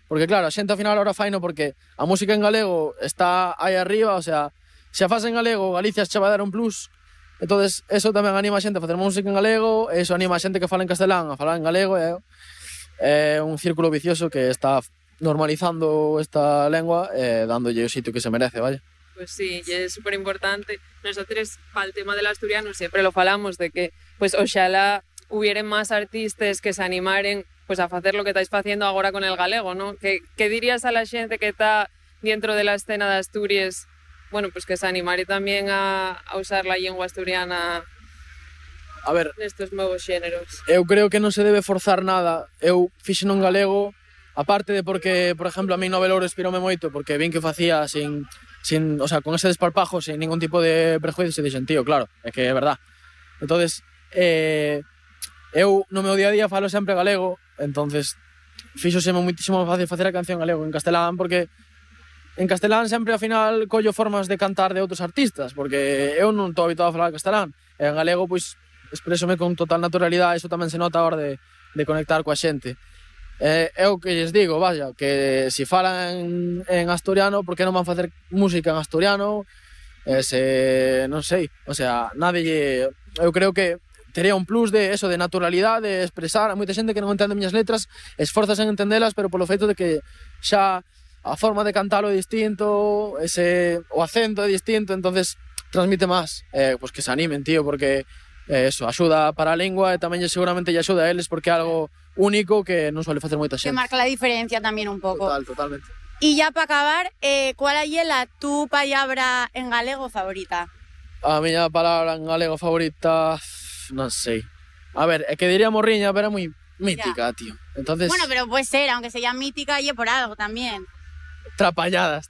porque claro, a xente ao final ahora faino porque a música en galego está aí arriba, o sea, se a faz en galego, Galicia che vai dar un plus, entonces eso tamén anima a xente a facer música en galego, eso anima a xente que fala en castelán a falar en galego, é un círculo vicioso que está normalizando esta lengua e dándolle o sitio que se merece, vaya. Pues sí, y es súper importante. Nosotros, para el tema del asturiano, siempre lo falamos de que, pues, oxalá hubieran más artistas que se animaren pues, a hacer lo que estáis haciendo ahora con el galego, ¿no? ¿Qué dirías a la gente que está dentro de la escena de Asturias, bueno, pues que se animare también a usar la lengua asturiana a ver, nestes novos xéneros? Eu creo que non se debe forzar nada. Eu fixen un galego, aparte de porque, por exemplo, a mí Novelouro inspirome moito, porque vin que facía sin, o sea, con ese desparpajo, sin ningún tipo de prejuicio, e dixen, tío, claro, é que é verdad. Entonces, eu no meu día a día falo sempre galego, entonces fíxoseme muitísimo fácil facer a canción galego en castelán, porque en castelán sempre ao final collo formas de cantar de outros artistas, porque eu non estou habituado a falar castelán, e en galego, pois, expresome con total naturalidade, iso tamén se nota a hora de conectar coa xente. É o que lles digo, vaya, que se falan en asturiano, por que non van facer música en asturiano? Non sei, o sea, eu creo que tería un plus de eso, de naturalidade, de expresar. A moita xente que non entende miñas letras esforzas en entendelas, pero polo feito de que xa a forma de cantalo é distinto, o acento é distinto, entonces transmite máis. Pois que se animen, tío, porque eso, axuda para a lingua e tamén seguramente lle axuda a eles porque é algo único que non suele facer moita xente. Que marca la diferencia tamén un pouco. Totalmente. E ya para acabar, cual é a tu palabra en galego favorita? A miña palabra en galego favorita, non sei. A ver, é que diría morriña, pero é moi mítica, tío. Entonces, bueno, pero puede ser, aunque sea mítica, y por algo tamén. Trapalladas,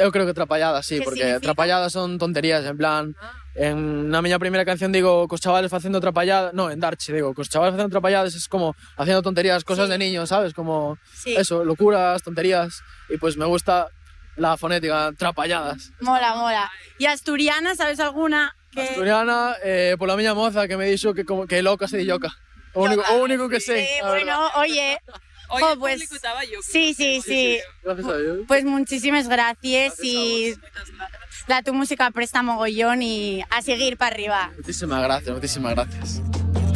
eu creo que trapalladas, sí, porque significa? trapalladas son tonterías, en plan, na miña primeira canción digo cos chavales facendo trapalladas, no, en Darche digo, cos chavales facendo trapalladas es como haciendo tonterías, cosas de niños, ¿sabes? Como eso, locuras, tonterías, y pues me gusta la fonética, trapalladas. Mola. ¿Y asturiana, sabes alguna? Asturiana, pola miña moza que me dixo que loca se di yoca. O único que sei. Bueno, oye... Oye, pues, el público estaba yo. Sí. Gracias a Dios. Pues muchísimas gracias y tu música presta mogollón y a seguir para arriba. Muchísimas gracias.